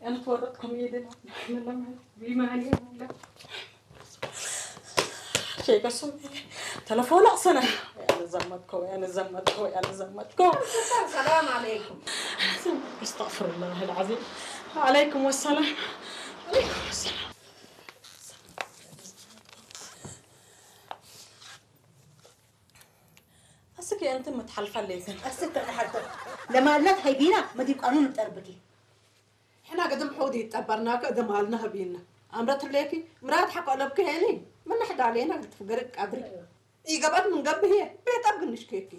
أنا تورطكم إيدنا. بما علينا. شيء قسم. تلفون أصلا. يا نزمتكو، يا نزمتكو، يا نزمتكو. السلام عليكم. أستغفر الله العظيم. وعليكم السلام. عليكم السلام. أسك أنت متحلفة ليك. أسك أنا حتى لما قالت هاي بينا ما دي قانون تربكي. ሕና ግድም ሑድ ይጠበርናከ እደም ሃልና ህቢና ኣምረት ሌኪ ምራት ሓቆ ለብክ ሄኒ ምን ሕዳ ሌና ግትፍ ገርቅ ቀድሪ ይገባት ምን ገብህ ቤት ኣብግንሽ ኬኪ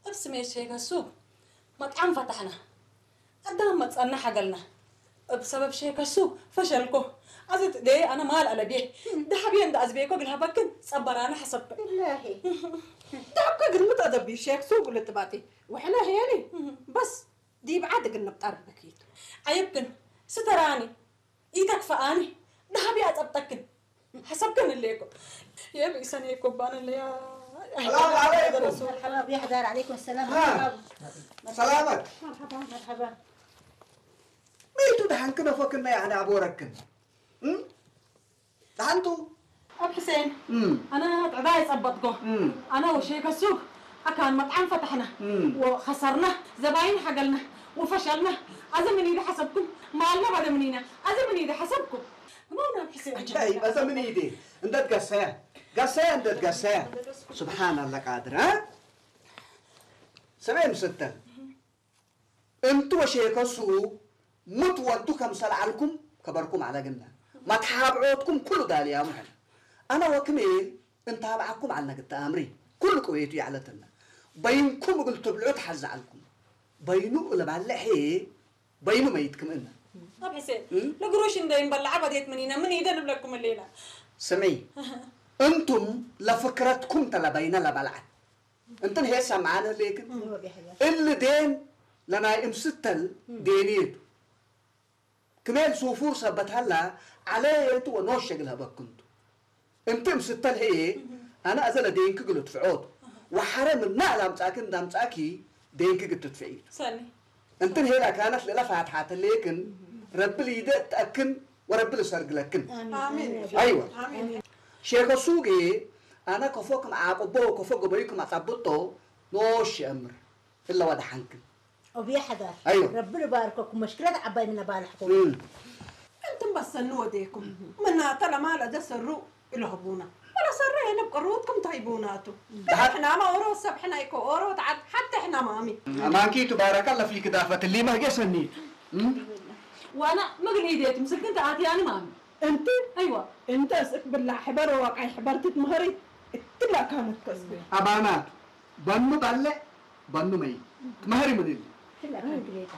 እብ ስሜት ሼከሱ መጥዓም ፈታሕና ኣዳም መጸና ሓገልና እብ ሰበብ ሼከሱ ፈሸልኮ ኣዘት ደየ ኣነ ማል ኣለቤ ዳሕቤ እንደ ኣዝቤኮ ግልሃበክን ጸበራና ሓሰብከ ዳብከ ግልምጥ ኣደቢ ሼክሱ ግልጥባጢ ወሕነ ሄኒ በስ ዲብ ዓዲ ግን ንብጣር በኪቱ። ዓይብክን ስተራኒ ኢተክፈኣኒ ዳሃቢ ኣጸብጠክን ሓሰብክን እሌኮ የብኢሰን የኮባን እለያ ሰላም ዓለይኩም። يا حدار عليكم السلام ها. سلامت مرحبا مرحبا ميتو دحن كنا فكنا يعني عبوركن دحنتو ኣብ ሕሴን ኣነ ጥዕዳ የጸበጥጎ ኣነ ወሸይ ከሱብ ኣካን መጥዓም ፈታሕና ወኸሰርና ዘባይን ሓገልና ወፈሸልና ኣዘ ምን ኢደ ሓሰብኩም ማልና ባደ ምን ኢና ኣዘ ምን ኢደ ሓሰብኩም እሞ ናብ ሕሴን أي بس من إيدي أنت تقسيا قسيا أنت تقسيا سبحان الله قادر ها سبعين ستة እንቱ ወሼከሱ ሙት ወንቱ ከም ሰልዓልኩም ከበርኩም ዓለግና መትሓብዖትኩም ኩሉ ዳልያሙ ሕነ ኣነ ወክሜ እንታብዓኩም ዓልነግተ ኣምሪ ኩሉ ቅዌቱ ይዓለትና በይንኩም እግል ትብልዑ ትሓዝዓልኩም በይኑ እልባልዕ ሄ በይኑ መይትክም እነ ኣብ ሕሴን ለግሮሽ እንደ ይንበልዓ በዴት ምኒነ ምን ይደ ንብለኩም እሌና ስምዒ እንቱም ለፍክረትኩም ተለበይነ ለበልዓት እንትን ሄሳ መዓነ ሌክን እሊ ዴን ለናይ እምስተል ዴንየቱ ክሜል ሱፉር ሰበት ሀላ ዓለ የቱ ወኖሸ ግል ሀበክንቱ እንቲ እምስተል ሄየ ኣነ ኣዘለ ዴንክ ግል ትፍዖቱ ወሓረ ምና ላምጻኪ እንዳምጻኪ ዴንክ ግል ትትፍዒቱ ሰኒ እንትን ሄላ ካነት ለለ ፋትሓተ ሌክን ረቢ ሊደ እትአክን ወረቢ ልሰርግለክን አሜን አይወ አሜን ሼከ ሱጌ ኣነ ከፎ ክም ዓቅቦ ከፎ ገበዩ ክም ኣጻብጦ ኖሽ የእምር እለ ወደ ሓንክን أبي حذر أيوة. ربنا بارككم مشكلة عباي من بالحكم እም። እንትን በሰኑ ወዴኩም ምናተ ለማለ ደሰሩ ኢለህቡና ወለሰረ የንብ ቅሩትኩም ታይቡናቱ ሕናማ ኦሮ ሰብ ሕና ይኮ ኦሮ ተዓድ ሓተ ሕናማ ኣሚ ኣማንኪ ትባረካ ለፊክ ዳፈት ሊመ ህጌ ሰኒት እም? ዋና ምግል ኢዴት ምስልክን ተኣትያኒ ማሚ እንቲ ኣይዋ እንተ እስክ ብላ ሕበር ወቃይ ሕበርትት ምህሪ እትላ ካነት ከስብ ኣባናት በኑ ባለ በኑ መይ ትመህሪ ምን ኢሉ كلها كانت ليتا